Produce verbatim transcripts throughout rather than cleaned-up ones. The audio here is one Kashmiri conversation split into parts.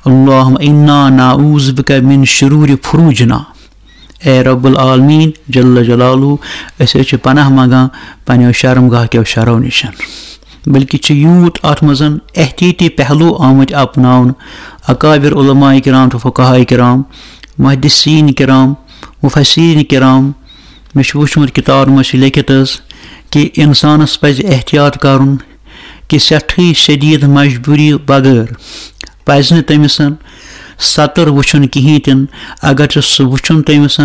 اللہم انا نعوذ بک من شرور فروجنا۔ اے رب العالمین جل جلالہ، أسۍ حظ چھِ پناہ منگان پننیو شرمگاہ کیو شرو نِش۔ بلکہ چھِ یوٗت اتھ منٛز احتیاطی پہلو آمٕتۍ اپناونہٕ۔ اکابر علماء کرام تہٕ فقہاء کرام، محدثین کرام، مفسرین کرام، مےٚ چھُ وُچھمُت کِتابَن منٛز چھِ لیٚکھِتھ حظ کہِ اِنسانَس پَزِ احتیاط کَرُن کہِ سٮ۪ٹھٕے شدیٖد مجبوٗری بغٲر پَزِ نہٕ تٔمِس سَتٕر وُچھُن کِہیٖنۍ تہِ نہٕ۔ اگر چھُ سُہ وُچھُن تٔمِس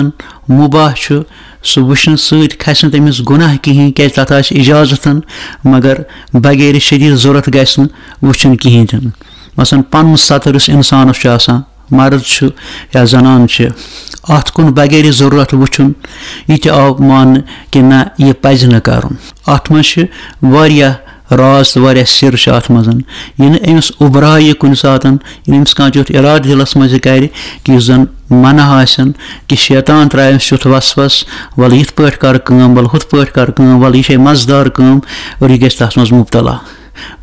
مُباح چھُ، سُہ وُچھنہٕ سۭتۍ کھسہِ نہٕ تٔمِس گۄناہ کِہیٖنۍ، کیٛازِ تَتھ آسہِ اِجازَتھ، مگر بغیر شدیٖد ضوٚرَتھ گژھِ نہٕ وُچھُن کِہیٖنۍ تہِ نہٕ۔ مثلاً پَنُن سَتٕر یُس اِنسانَس چھُ آسان، مرد چھُ یا زنان چھِ، اَتھ کُن بغیر ضروٗرت وٕچھُن، یہِ تہِ آو ماننہٕ کہِ نہ، یہِ پَزِ نہٕ کَرُن۔ اَتھ منٛز چھِ واریاہ راز تہٕ واریاہ سِر چھِ اَتھ منٛز۔ یہِ نہٕ أمِس اُبرایہِ کُنہِ ساتَن، یہِ نہٕ أمِس کانٛہہ تیُتھ اِرادٕ دِلَس منٛز یہِ کَرِ کہِ یُس زَن منع آسن، کہِ شیطان ترٛایہِ أمِس تیُتھ وسوَس، وَلہٕ یِتھ پٲٹھۍ کَر کٲم، وَلہٕ ہُتھ پٲٹھۍ کَر کٲم، وَلہٕ یہِ چھے مَزٕدار کٲم، اور یہِ گژھِ تَتھ منٛز مُبتلا۔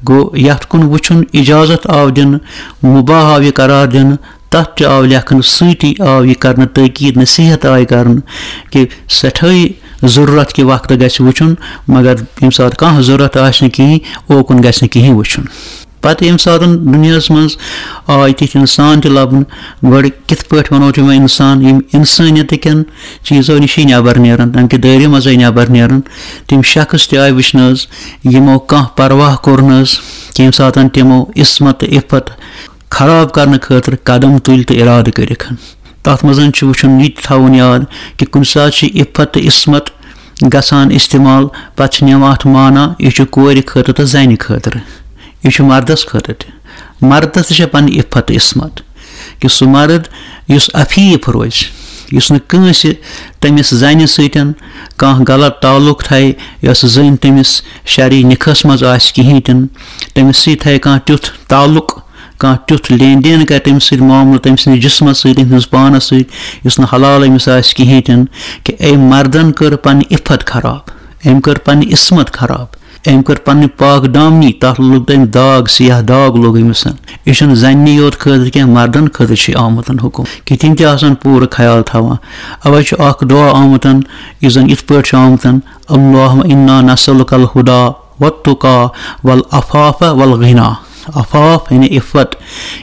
گوٚو، یَتھ کُن وٕچھُن اِجازت آو دِنہٕ، مُباح آو یہِ قرار دِنہٕ، تَتھ تہِ آو لیکھنہٕ، سۭتی آو یہِ کرنہٕ تٲکیٖد، نصیحت آیہِ کرنہٕ کہِ سٮ۪ٹھٲے ضروٗرت کہِ وقتہٕ گژھِ وٕچھُن، مگر ییٚمہِ ساتہٕ کانٛہہ ضروٗرت آسہِ نہٕ کِہیٖنۍ، اوکُن گژھِ نہٕ کِہیٖنۍ وٕچھُن۔ پتہٕ ییٚمہِ ساتہٕ دُنیاہَس منٛز آے تِتھۍ اِنسان تہِ لَبنہٕ، گۄڈٕ کِتھ پٲٹھۍ وَنو تِمَن اِنسان، یِم اِنسٲنیتٕکٮ۪ن چیٖزو نِشی نٮ۪بر نیرَن، تَمہِ کہِ دٲیرٕ منٛزٕے نٮ۪بر نیرَن، تِم شخص تہِ آے وٕچھنہٕ حظ، یِمو کانٛہہ پرواہ کوٚر نہٕ حظ، ییٚمہِ ساتہٕ تِمو عصمت تہٕ عفت خراب کرنہٕ خٲطرٕ قدم تُلۍ تہٕ اِرادٕ کٔرِکھ۔ تَتھ منٛز چھُ وٕچھُن، یہِ تہِ تھاوُن یاد کہِ کُنہِ ساتہٕ چھِ عفت تہٕ عصمت گژھان استعمال، پتہٕ چھِ نِوان اَتھ معنی، یہِ چھُ کورِ خٲطرٕ تہٕ زَنہِ خٲطرٕ، یہِ چھُ مردس خٲطرٕ تہِ۔ مردس تہِ چھےٚ پنٕنۍ عفت تہٕ عصمت کہِ سُہ مرد یُس عفیف روزِ، یُس نہٕ کٲنٛسہِ تٔمِس زَنہِ سۭتۍ کانٛہہ غلط تعلق تھایہِ، یۄس زٔنۍ تٔمِس شرعی نِکاحس منٛز آسہِ کِہیٖنۍ تہِ نہٕ، تٔمِس سۭتۍ تھایہِ کانٛہہ تیُتھ تعلق، کانٛہہ تیُتھ لین دین کرِ تٔمِس سۭتۍ، معاملہٕ تٔمۍ سٕنٛدِس جسمس سۭتۍ، تٔمۍ سٕنٛدِس پانس سۭتۍ، یُس نہٕ حلال أمِس آسہِ کِہیٖنۍ تہِ نہٕ، کہِ أمۍ مردن کٔر پنٕنۍ عفت خراب، أمۍ کٔر پنٕنۍ عصمت خراب، أمۍ کٔر پنٕنۍ پاک دامنی، تتھ لوٚگ تٔمۍ داغ، سیاہ داغ لوٚگ أمِس۔ یہِ چھُنہٕ زنہِ یوت خٲطرٕ کینٛہہ، مردن خٲطرٕ چھُ آمُت حکم کہِ تِم تہِ آسن پوٗرٕ خیال تھاوان۔ اوے چھُ اکھ دعا آمُت، یُس زن یِتھ پٲٹھۍ چھُ آمُت، اللہم انا نسألک الہدی والتقی والعفاف والغنی۔ عفاف یعنی عفت،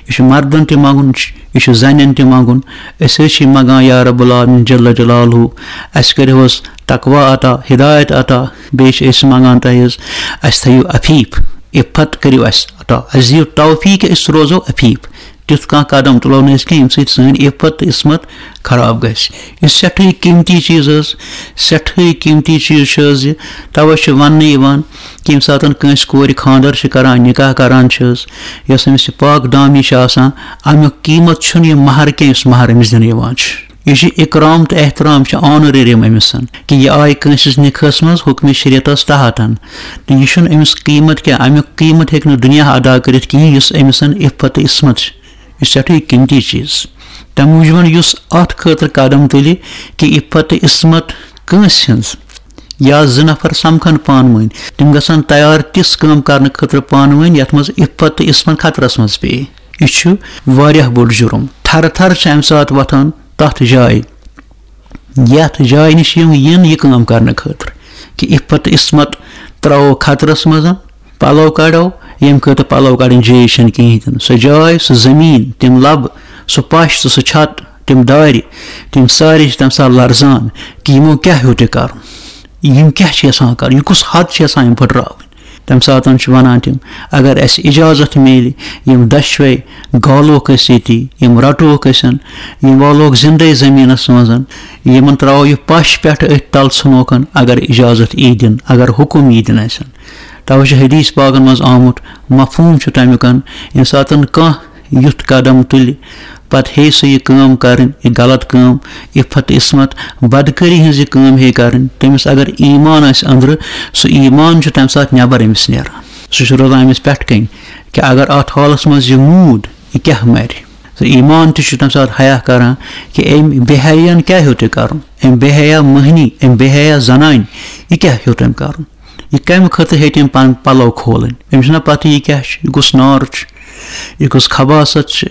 یہِ چھُ مردن تہِ منٛگُن، یہِ چھُ زنٮ۪ن تہِ منٛگُن۔ أسۍ حظ چھِ منٛگان یا رب العالمین جل جلالہ، اَسہِ کٔرِو حظ تقوی عطا، ہدایت عطا، بیٚیہِ چھِ أسۍ منٛگان تۄہہِ حظ، اَسہِ تھٲیِو عفیف، عفت کٔرِو اَسہِ عطا، اَسہِ دِیِو توفیق، أسۍ روزو عفیف۔ تیُتھ کانٛہہ قدم تُلو نہٕ أسۍ کینٛہہ، ییٚمہِ سۭتۍ سٲنۍ عفت تہٕ عصمت خراب گژھِ۔ یہِ سٮ۪ٹھٕے قۭمتی چیٖز حظ، سٮ۪ٹھٕے قۭمتی چیٖز چھُ حظ یہِ۔ توے چھُ وننہٕ یِوان کہِ ییٚمہِ ساتہٕ کٲنٛسہِ کورِ خانٛدر چھِ کران، نکاح کران چھِ حظ، یۄس أمِس یہِ پاک دامی چھِ آسان، امیُک قۭمت چھُنہٕ یہِ مہر کینٛہہ، یُس مہر أمِس دِنہٕ یِوان چھُ۔ یہِ چھُ اکرام تہٕ احترام، چھُ آنریریم أمِس، کہِ یہِ آیہِ کٲنٛسہِ ہٕنٛز نکاحس منٛز حکمِ شریعتس تحت۔ تہٕ یہِ چھُنہٕ أمِس قۭمت کینٛہہ، امیُک قۭمت ہیٚکہِ نہٕ دُنیا ادا کٔرِتھ کِہیٖنۍ، یُس أمِس عفت تہٕ عصمت چھِ۔ یہِ چھُ سٮ۪ٹھٕے قۭمتی چیٖز۔ تَمہِ موٗجوٗب یُس اَتھ خٲطرٕ قدم تُلہِ کہِ عفت تہٕ عصمت کٲنٛسہِ ہٕنٛز، یا زٕ نفر سمکھن پانہٕ ؤنۍ، تِم گژھن تیار تِژھ کٲم کرنہٕ خٲطرٕ پانہٕ ؤنۍ، یَتھ منٛز عفت تہٕ عصمت خطرس منٛز پیٚیہِ۔ یہِ چھُ واریاہ بوٚڑ جُرُم۔ تھرٕ تھرٕ چھِ اَمہِ ساتہٕ وۄتھان تَتھ جایہِ، یَتھ جایہِ نِش یِم یِن یہِ کٲم کرنہٕ خٲطرٕ، کہِ عفت تہٕ عصمت ترٛاوو خطرس منٛز۔ پلو کڑو، ییٚمہِ خٲطرٕ پلو کڑٕنۍ جٲیِز چھَنہٕ کِہیٖنۍ تہِ نہٕ۔ سۄ جاے، سُہ زٔمیٖن، تِم لَبہٕ، سُہ پَش تہٕ سُہ چھَت، تِم دارِ، تِم سارے چھِ تَمہِ ساتہٕ لرزان کہِ یِمو کیٛاہ ہیوٚت یہِ کَرُن؟ یِم کیٛاہ چھِ یَژھان کَرُن؟ یہِ کُس حد چھِ یَژھان یِم پھٕٹراوٕنۍ؟ تَمہِ ساتہٕ چھِ وَنان تِم، اگر اَسہِ اِجازت میلہِ، یِم دۄشوَے گالوکھ أسۍ ییٚتی، یِم رَٹوکھ أسۍ، یِم والوکھ زِندَے زٔمیٖنَس منٛز، یِمَن ترٛاوو یہِ پَش پٮ۪ٹھ أتھۍ تَل ژھٕنوکھ، اگر اِجازت یی دِنہٕ، اگر حُکُم یی دِنہٕ اَسہِ۔ توے چھُ حدیث پاکن منٛز آمُت، مفہوم چھُ تَمیُک، ییٚمہِ ساتَن کانٛہہ یُتھ قدم تُلہِ، پتہٕ ہیٚیہِ سُہ یہِ کٲم کَرٕنۍ، یہِ غلط کٲم، عفت عصمت، بدکٲری ہٕنٛز یہِ کٲم ہیٚیہِ کَرٕنۍ، تٔمِس اگر ایمان آسہِ أنٛدرٕ، سُہ ایمان چھُ تَمہِ ساتہٕ نٮ۪بر أمِس نیران۔ سُہ چھُ روزان أمِس پٮ۪ٹھ کَنۍ کہِ اگر اَتھ حالَس منٛز یہِ موٗد، یہِ کیٛاہ مَرِ؟ سُہ ایمان تہِ چھُ تَمہِ ساتہٕ حیا کَران کہِ أمۍ بے حیاہَن کیٛاہ ہیوٚت یہِ کَرُن؟ أمۍ بے حیا مٔہنی، أمۍ بے حیا زنانہِ، یہِ کیٛاہ ہیوٚت أمۍ کَرُن؟ یہِ کَمہِ خٲطرٕ ہیٚتۍ أمۍ پَنٕنۍ پَلو کھولٕنۍ؟ أمِس چھُنہ پَتہٕ یہِ کیٛاہ چھُ، یہِ کُس نار چھُ، یہِ کُس خباثت چھِ،